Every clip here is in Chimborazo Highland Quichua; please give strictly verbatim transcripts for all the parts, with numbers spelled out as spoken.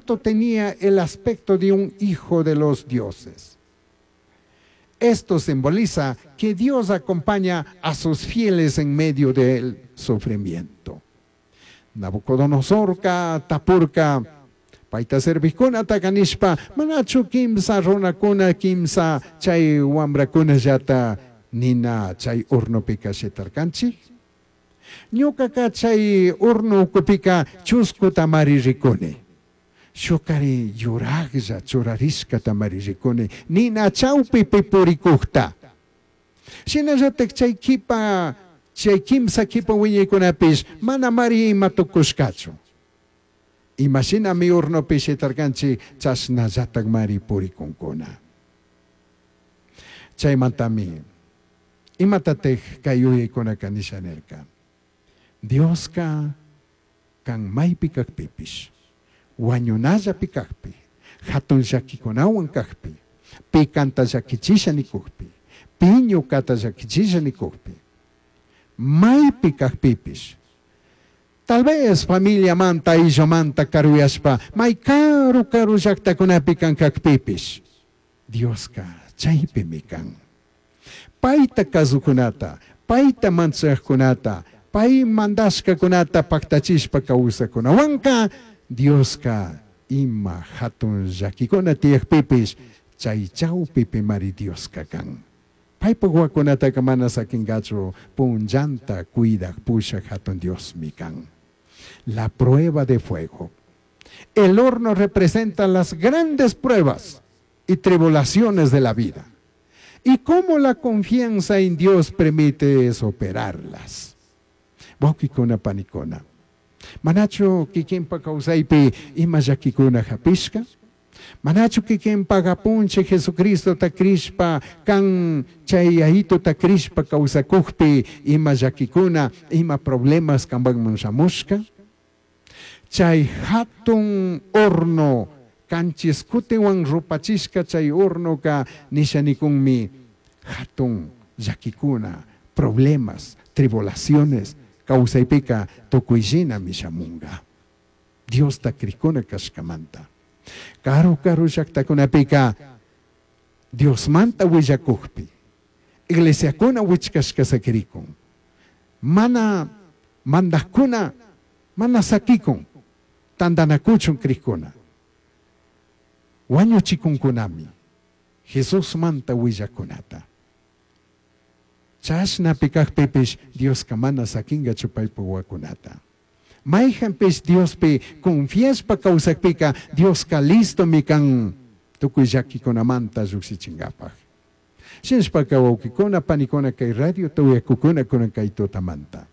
cuarto tenía el aspecto de un hijo de los dioses. Esto simboliza que Dios acompaña a sus fieles en medio del sufrimiento. Nabucodonosorca tapurca paita servijkunataka nishpa, manachu kimsa runakuna, kimsa chay wambrakunallata nina chay hornopika shitarkanchik? Ñukaka chay horno ukupika chuskutamari rikuni. Shukari yurajlla churarishkatamari rikuni, nina chawpipi purikukta. Shinallatak chay kipa, chay kimsa kipa wiñaykunapish manamari ima tukushkachu. Imashinami hornopi shitarkanchik, chashnallatakmari purikunkuna. Chaymantami imatatik kay yuyaykunaka nisha nirka? Dioska kan maypi kakpipish, wañunallapi kakpi, hatun llakikunawan kakpi, pi kanta llakichisha nikukpi, pi ñukata llakichisha nikukpi, maypi kakpipish, tal vez familiamanta, ayllumanta karuyashpa, may karu karu llaktakunapi kan kakpipish, Dioska chaypimi kan. Payta kasukunata, payta manchajkunata, pay mandashkakunata paktachishpa kawsakunawanka, Dioska ima hatun llakikuna tiyakpipish, chay chawpipimari Dioska kan. Paypak wawakunataka mana sakinkachu, punllanta cuidak pushak hatun Diosmi kan. La prueba de fuego. El horno representa las grandes pruebas y tribulaciones de la vida. Y cómo la confianza en Dios permite superarlas. Wawkikuna panikuna. Manachu kikinpa kawsaypi ima llakikuna hapishka? Manachu kikinpa apunchik Jesucristota crishpa kan chay Yayituta crishpa kawsakukpi ima llakikuna, ima problemas kanpakman shamushka? Chay hatun horno kanchis kutinwan rupachishka chay hornoka nisha nikunmi hatun llakikuna, problemas, tribulaciones kawsaypika tukuyllínami shamunga. Diosta crikuna kashkamanta. Karu karu llaktakunapika Diosmanta willakukpi, iglesiakuna wichkashka sakirikun, mana mandajkuna mana sakikun, tantanakuchun crikuna. Wañuchikunkunami Jesusmanta willakunata. Chashnapi kakpipish Dioska mana sakingachu paypak wawakunata. Mayjanpish Diospi confiashpa kawsakpika Dioska listomi kan tukuy llakikunamanta llukshichinkapak. Shinashpaka wawkikuna, panikuna kay radio uyakukuna kunan kay tutamanta.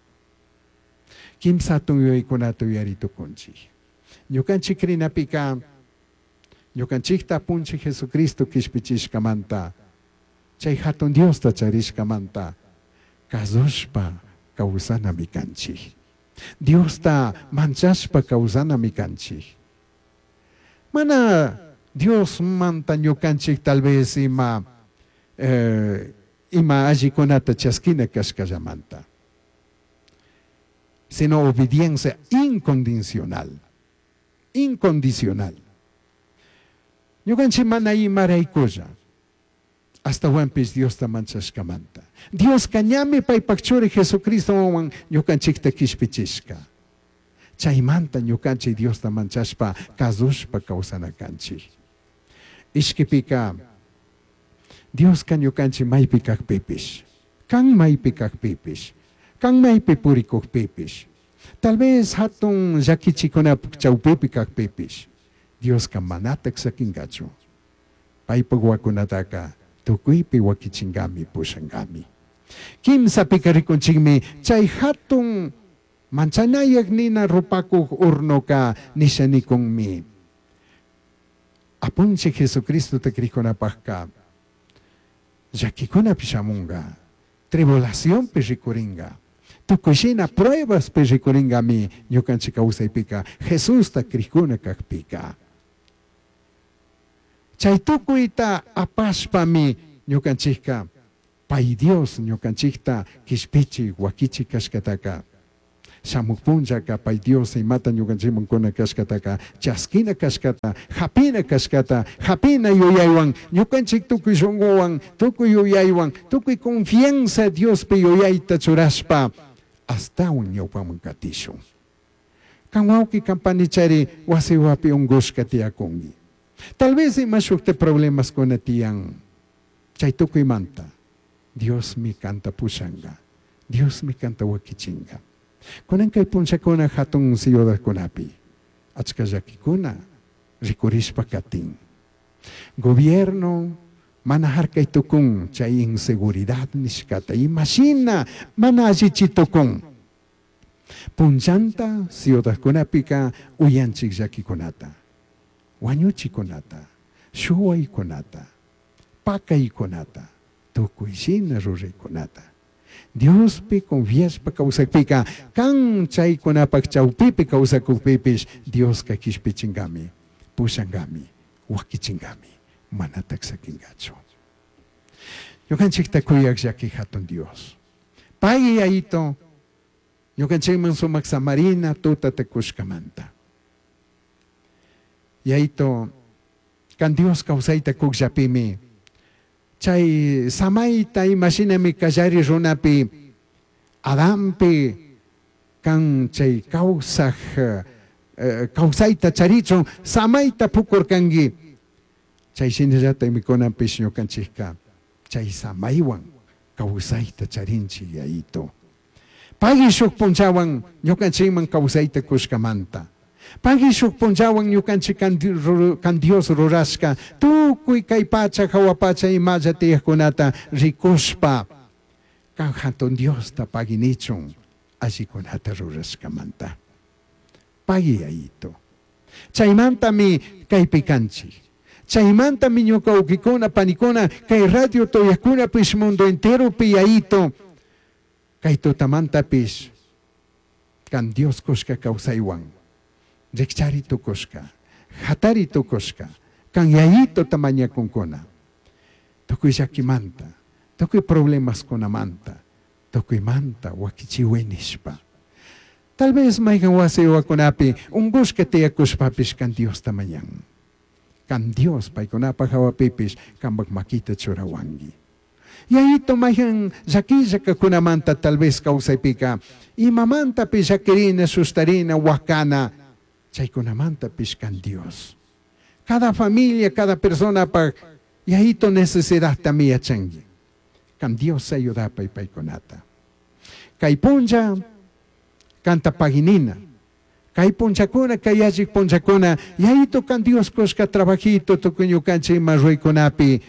Kimsa hatun yuyaykunata uyari tukunchik. Ñukanchik crinapika ñukanchikta apunchik Jesucristo kishpichishkamanta, chay hatun Diosta charishkamanta kasushpa kawsanami kanchik. Diosta manchashpa kawsanami kanchik. Mana Diosmanta ñukanchik tal vez ima, eh, ima allikunata chaskina kashkallamanta, sino obediencia incondicional. Incondicional. Ñukanchik mana imaraykulla, ashtahuanpish Diosta manchashkamanta. Dioska ñami paypak churi Jesucristowan ñukanchikta kishpichishka. Chaymanta ñukanchik Diosta manchashpa kasushpa kawsana kanchik. Ishkipika Dioska ñukanchik maypi kakpipish, kan maypi kakpipish, kan maypi purikukpipish, tal vez hatun llakichikunapak chawpipi kakpipish, Dioska manatak sakinkachu. Paypak wawakunataka tukuypi wakichinkami, pushankami. Kimsapika rikunchikmi chay hatun manchanayak nina rupakuk hornoka nisha nikunmi. Apunchik Jesucristota krikunapakka llakikunapi shamunga, tribulacionpi rikuringa, tukuy pruebaspi rikuringami ñukanchik kawsaypika Jesusta krikuna kakpika. Chay tukuyta apashpami ñukanchikka pay Dios ñukanchikta kishpichik wakichik kashkataka Shamuj punllaka pay Dios imata ñukanchikman kuna kashkataka chaskina kashkata, hapina kashkata, hapina yuyaywan, ñukanchik tukuy shunguwan, tukuy yuyaywan, tukuy confianza Diospi yuyayta churashpa astawan ñawpaman katishun. Kan wawqi kan panichari wasiwapi unkushka tiyakunki. Tal vez ima shukta problemaskuna tiyan. Chay tukuymanta Diosmi kanta pushanka, Diosmi kanta wakichinka. Kunan kay punllakuna hatun ciudadkunapi achka llakikuna rikurishpa katin. Gobierno mana harkay tukun chay inseguridad nishkata imashina mana allichi tukun. Punllanta ciudadkunapika uyanchik llakikunata, wañuchikunata, shuwaykunata, pakaykunata, tukuy shina ruraykunata. Diospi confiashpa kawsakpika kan chaykunapak chawpipi kawsakukpipish Dioska kishpichinkami, pushankami, wakichinkami, manatak sakinkachu. Ñukanchikta kuyak llaki hatun Dios. Pay yayito ñukanchikman sumak samarina tutata kushkamanta. Yayito kan Dios kawsayta kukllapimi chay samayta imashinami kallari runapi Adampi kan chay kawsaj eh, kawsayta charichun samayta pukurkanki chay shinallata mikunapish ñukanchikka chay samaywan kawsayta charinchik yayito. Pagui shuk punllawan ñukanchikman kawsayta kushkamanta. Pagui shuk punllawan ñukanchik kan Dios rurashka tukuy kay pacha hawa pacha imalla tiyaqkunata rikushpa kan hatun Diosta paginichun allikunata rurashkamanta. Pagui yayito. Chaymantami kaypi kanchik. Chaymantami ñuka uquikuna panikuna kay radio tuyaqkunapish mundo enteropi yayito kay tutamantapish kan Dios kushka kawsaywan rikchari tukushka, hatari tukushka, kan yayito tamañakunkuna tukuy llakimanta, tukuy problemaskunamanta, tukuymanta wakichiway nishpa. Tal vez mayqan wasi wakunapi unqushka tiyakushpapish kan Diosta mañan. Kan Dios paykunapaq hawapipish kanpak makita churawanki. Yayito mayqan llakilla kakunamanta tal vez kawsaypika imamantapish llakirina, sustarina, wakana, chaykunamantapish kan Dios. Cada familia, cada personapaq yayito necesidadtami yachanki. Kan Dios ayudapay paykunata. Kay punlla kanta paginina. Kay punllakuna, kay allik punllakuna, yayito kan Dios kushka trabajito tukuy ñukanchik ima ruykunapi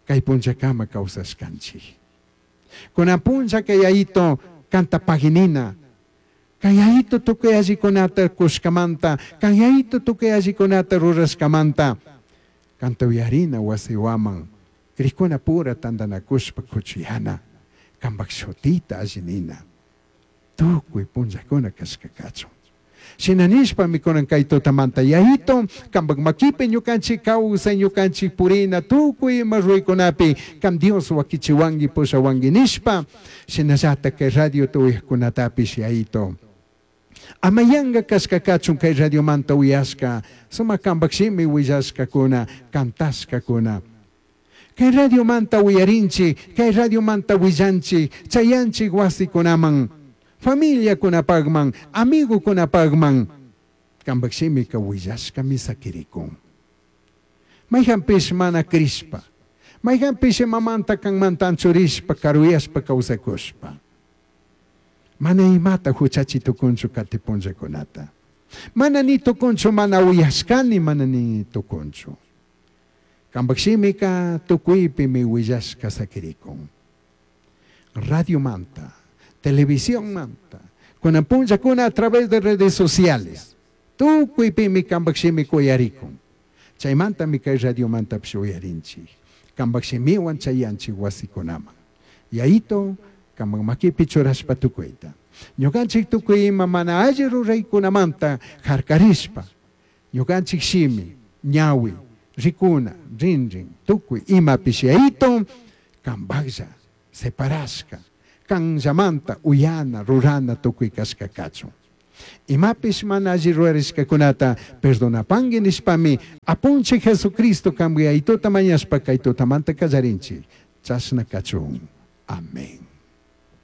kay punllakama kawsashkanchik. Kunan punlla kay yayito kanta paginina. Kay yayito tukuy allikunata kushkamanta, kan yayito tukuy allikunata rurashkamanta, kanta uyarina wasiwaman, krikuna pura tantanakushpa kuchuyana, kanpak shutita allinina, tukuy punllakuna kashka kachun. Shina nishpami kunan kay tutamanta yayito, kanpak makipi ñukanchik kawsay, ñukanchik purina, tukuy ima ruraykunapi, kan Dios wakichiwanki, pushawanki nishpa, shinallata kay radio tuyaqkunatapish yayito. Amayanga kashka kachun kay radiomanta uyashka, sumak kanpak shimi willashkakuna, kantashkakuna. Kay radiomanta uyarinchik, kay radiomanta willanchik, chayanchik wasikunaman, familiakunapaqman, amigukunapaqman, kanpak shimika willashkami sakirikun. Mayqanpish mana krishpa, mayqanpish imamanta kanmanta anchurishpa, karuyashpa kawsakushpa. Mana imata huchachi tukunchu kati punllakunata. Mana ni tukunchu, mana uyashkani, mana ni tukunchu. Kanpak shimika tukuypimi willashka sakirikun. Radio manta, televisión manta, kunan punllakuna a través de redes sociales. Tukuypimi kanpak shimika uyarikun. Chaymantami kay radio mantapish uyarinchik. Kanpak shimiwan chayanchik wasikunaman. Yayito, kanpak makipi churashpa tukuyta. Ñukanchik tukuy ima mana alli ruraykunamanta harkarishpa. Ñukanchik shimi, ñawi, rikuna, rinrin, tukuy imapish yayito, kanpaklla, separashka. Canllamanta uyana, rurana tucui cashca cachun. Imapish mana alli rurarishcacunata perdonapangui nishpami Apunchij Jesucristo canpi Yayituta mañashpa cai tutamanta callarinchij. Chashna cachun. Amén.